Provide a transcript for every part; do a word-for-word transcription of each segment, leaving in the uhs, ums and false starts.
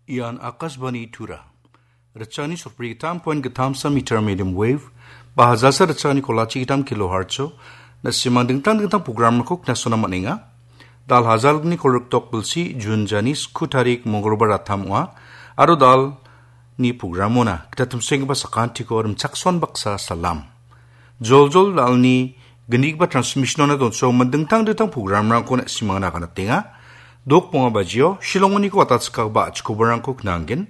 Ian Akashvani Tura. Rachani sorpri gitam poin gitam sa meter medium wave, ba hajalsa rachani kolachi gitam kilohertz-o, na·simang dingtang dingtang programrangko knasona man·enga. Dal hajalni kolriktok bilsi Jun jani sku tarik Mongolbar atam ong·a, aro dalni programona gita timsenggipa sakantiko rimchakson baksa salam. Joljol dalni gnigipa transmissionona donsogimin dingtang dingtang programrangko na·simangna aganatenga. Dok bonga bajio, Shillongoniko watatskagba a·chikobarangko knanggen.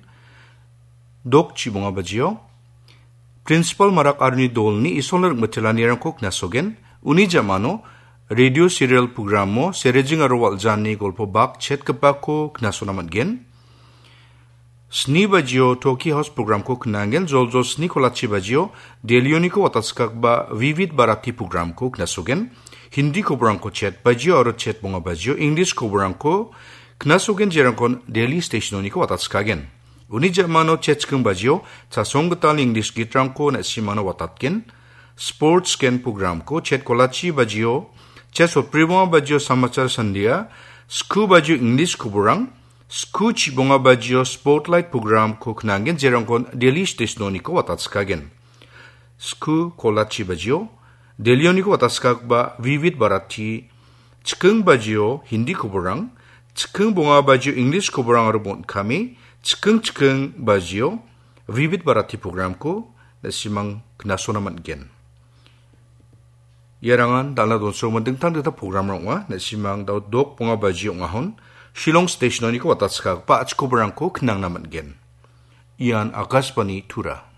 Dok chibonga bajio, Principal Marak aroni dolni isolna ringmitelanirangko knasogen. Uni jamano, radio serial programo, Serejing aro Waljani golpo bak chetgipako knasona man·gen. Sni bajio Toki House programko knangen, joljol sni kolachi bajio Delhioniko watatskagba Vivid Bharati programko knasogen. Hindi koborangko chet bajio aro chet bonga bajio English koborangko knasogen, jerangkon Delhi stationoniko watatskagen. Uni jamano chet chiking bajio chasong gital English gitrangko na·simano watatgen. Sports gen programko chet kolachi bajio, chet sotbri bonga bajio Samachar Sandia, sku bajio English koborang, sku chibonga bajio Spotlight programko knangen, jerangkon Delhi stationoniko watatskagen. Sku kolachi bajio, Delhioniko watatskagba Vivid Bharati, chiking bajio Hindi koborang, chiking bonga bajio English koborang aro bon·kame, chiking chiking bajio Vivid Bharati programko na·simang knasona man·gen. Iarangan dal·a donsogimin dingtang dingtang programrang ong·a, na·simang dao dok bonga baji ong·ahon, Shillong stationoniko watatskagba a·chikobarangko knangna man·gen. Ian Akashvani Tura.